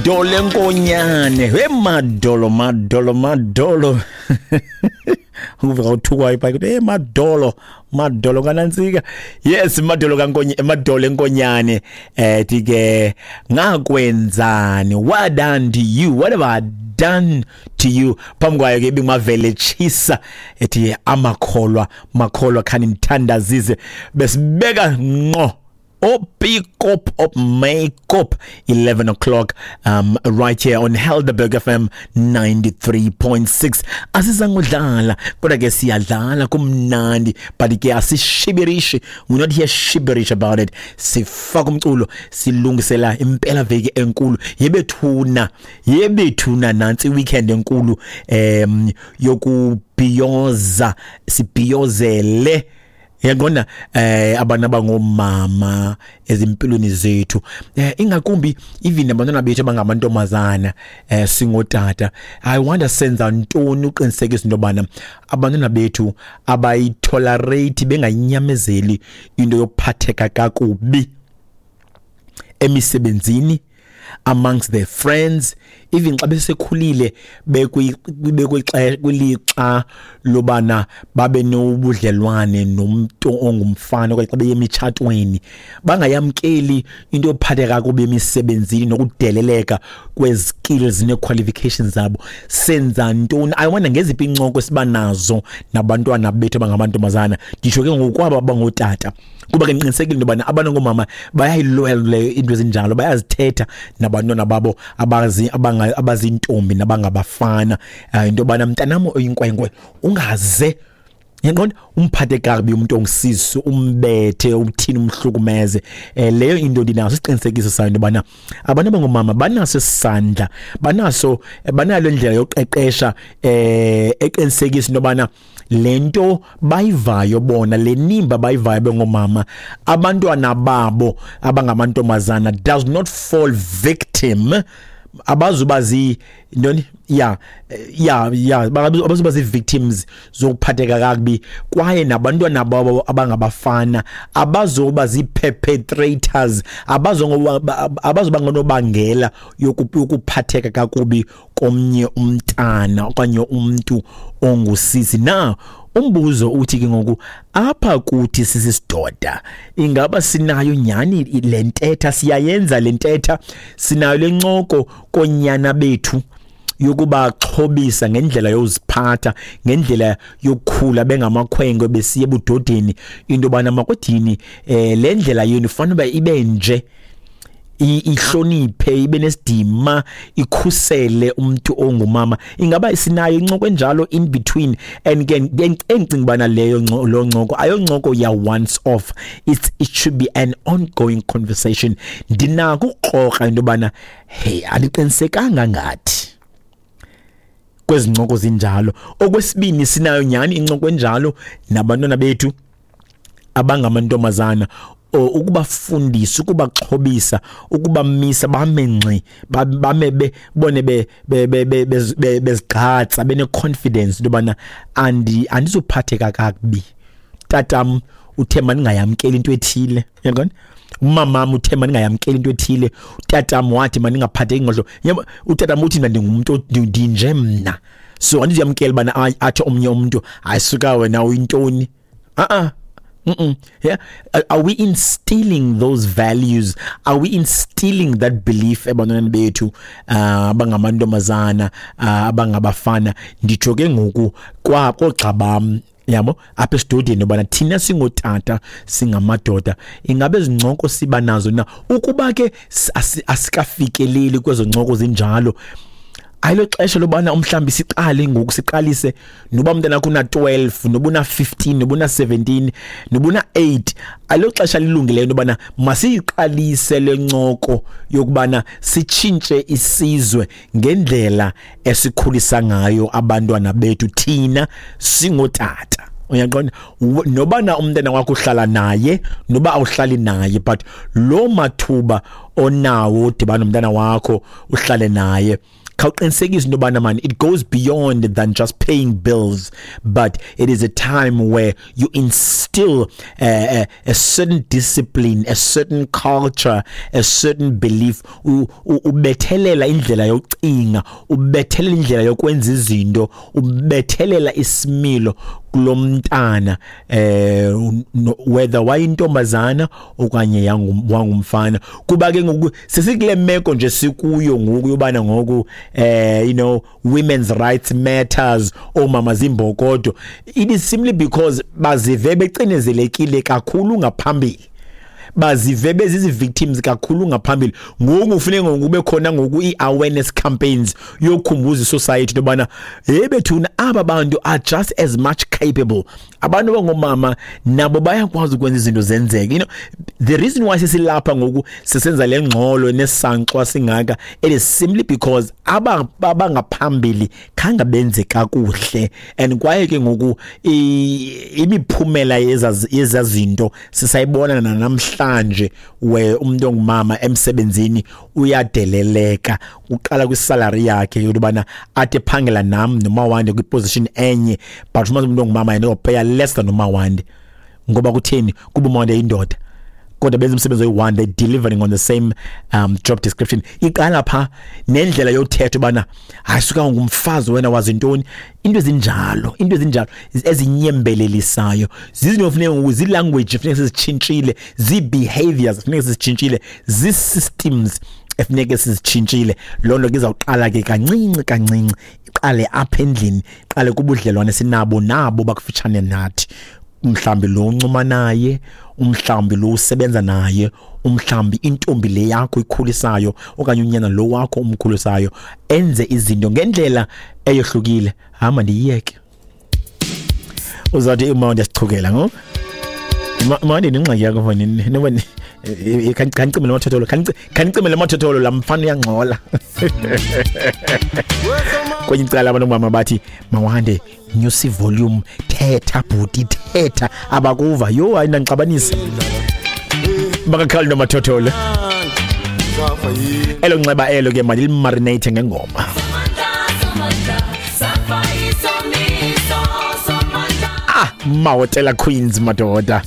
Madolo enkonyane, he madolo, madolo, madolo. Uve uthukwa ipha hey madolo, madolo kanantsika. Yes, madolo kankonye, madolo enkonyane. Ke ngakwenzani? What done to you? What have I done to you? Phambi kwayo ke ibingumavele tshisa ethi amakholwa, makholwa khani nithandazise besibeka ngqo Opikop op Makeup 11 o'clock right here on Helderberg FM 93.6. Asizangudlala kodwa ke siyadlala kumnandi, but ke asishibirishi, we're not here shibirish about it. Sifaka umculo, silungisela impela veki enkulu yebethuna, yebethuna nansi weekend enkulu yokubhiyoza, sibhiyozele yaqonda abantu abangomama ezimpilweni zethu, ingakumbi even abantwana bethu abangamantombazana. Singotata, I wonder senza ntoni uqinisekisa into yobana abantwana bethu abayitolerate, bengayinyamezeli into yokuphatheka kakubi emisebenzini, amongst their friends, even xa besekhulile, kwilixa lobana babe nobudlelwane nomuntu ongumfana, okanye xa beye emitshatweni, bangayamkeli into yophatheka kakubi emisebenzini nokudeleleka kwezi-skills nee-qualifications zabo. Senza ntoni? I wonder ngeziphi iincoko esiba nazo nabantwana bethu abangamantombazana. Nditsho ke ngokwabo abangootata, kuba ke ndiqinisekile into yobana abantu ngoomama bayayilwela leyo into ezinjalo, bayazithetha nabantwana babo abazintombi nabangabafana, into yobana mntanam oyinkwenkwe, ungaze yaqonda umphathe kakubi umuntu ongusisi, umbethe, uthini, umhlukumeze. Leyo into ndinaso isiqinisekiso sayo into yobana abantu abangomama banaso isandla, banaso, banalo indlela yoqeqesha eqinisekisa into yobana le nto bayivayo bona, le nimba bayivayo bengomama, abantwana babo abangamantombazana does not fall victim, abazuba zi ntoni, ya abazuba zii-victims zokuphatheka kakubi, kwaye nabantwana babo abangabafana abazoba zii-perpetrators, abazoba ngonobangela yokuphatheka kakubi komnye umntana okanye umntu ongusisi. Na umbuzo uthi ke ngoku apha kuthi sisisidoda, ingaba sinayo nyani le ntetha? Siyayenza le ntetha? Sinayo le ncoko konyana bethu yokubaxhobisa ngendlela yoziphatha, ngendlela yokukhula bengamakhwenkwe besiya ebudodeni, into yobana makwedini le ndlela yenu ifanele uba ibe nje, ihloniphe, ibe nesidima, ikhusele umuntu ongumama? Ingaba sinayo incoko enjalo in between? And ke engicinga ubana leyo lo ncoko ayoncoko ya once off, it should be an ongoing conversation. Ndinako ukukrokra into yobana hey, andiqinisekanga ngathi kwezi ncoko zinjalo. Okwesibini, sinayo nyhani incoko enjalo nabantwana bethu abangamantombazana, ukubafundisa, ukubaxhobisa, ukubamisa bame ngxi, bame bone bezigqatsa, bene-confidence into yobana andizuphatheka kakubi. Tatam uthe mandingayamkeli into ethile, uyaqonda? Umamam uthe mandingayamkeli into ethile, utatam wathi mandingaphatheki ngohlobo. Yabo, utatam uthi mna ndingumntu ndinje mna, so andizuyamkela ubana athi omnye umntu hayi suka wena uyintoni. Uh-uh. Yeah. Are we instilling those values? Are we instilling that belief ebantwaneni bethu abangamantombazana, abangabafana? Nditsho ke ngoku kwa koogxa bam, yabo, apha esidodeni, ubana thina singotata, singamadoda, ingabe ezincoko siba nazo na? Ukuba ke asikafikeleli kwezo ncoko zinjalo, ayilo xesha lobana umhlambi siqale ngoku, siqalise, noba umntana wakho una-12, noba una-15, noba una-17, noba una-8, ayilo xesha lilungileyo into yobana masiyiqalise le ncoko yokubana sitshintshe isizwe ngendlela esikhulisa ngayo abantwana bethu thina singotata? Uyaqonda? Nobana umntana wakho uhlala naye noba awuhlali naye, but lo mathuba onawo udibana nomntana wakho uhlale naye. Khawuqinisekise into yobana man, it goes beyond than just paying bills, but it is a time where you instill a certain discipline, a certain culture, a certain belief. Ubethelela indlela yokucinga, ubethelela indlela yokwenza izinto, ubethelela isimilo kulomntana, whether wayintombazana okanye wangumfana. Kuba ke ngoku sesikule meko nje sikuyo ngoku yobana ngoku women's rights matters, oomama zimbokodo, it is simply because bazive becinezelekile kakhulu ngaphambili, bazive bezizi-victims kakhulu ngaphambili. Ngoku kufuneka ngoku kube khona ngoku ii-awareness campaigns yokukhumbuza isociety into yobana hey bethuna, aba bantu are just as much capable. Abantu abangoomama nabo bayakwazi ukwenza izinto zenzeke. The reason why sesilapha ngoku sisenza le ngxolo nesankxwa singaka, it is simply because aba abangaphambili khange benze kakuhle, and kwaye ke ngoku imiphumela yezazinto sisayibona namhlanje, where umuntu ongumama emsebenzini uyadeleleka, uqala kwisalary yakhe yobana athi ephangela nam noMawande kwiposition enye, but uma umuntu ongumama yena upeya less than uMawande. Ngoba kutheni? Kuba uMawande yindoda, kodwa benza umsebenzi oyi-one, they delivering on the same job description. Iqala pha nendlela yothetha ubana hayi suka ngumfazi wena, wazi ntoni? Into ezinjalo ezinyembelelisayo zizinto funeka ngoku zii-language funeka sizitshintshile, zii-behaviors funeka sizitshintshile, zii-systems efuneke sizitshintshile. Loo nto ke izawuqala ke kancinci kancinci, iqale apha endlini, iqale kubudlelwane sinabo nabo bakufutshane nathi, mhlambi lo uncuma naye, umhlambi lo usebenza naye, umhlambi intombi le yakho ikhulisayo okanye unyana lo wakho umkhulisayo, enze izinto ngendlela eyohlukile. Hamba ndiyiyeke, uzawuthi uma ndiyasichukela ngoku. Mawande, nengxaki yakho mfana, noba khanicime le mathotholo, khanicime le mathotholo, laa mfana uyangxola. Kwenye icala abantu mama bathi, "Mawande, nyusa ivolume, thetha bhuti, thetha, abakuva." Yho, hayi, ndandixabanisa bakakhali nomathotholo. Elo nxeba elo ke mandilimarinate ngengoma. Ah, Mahotella Queens, madoda.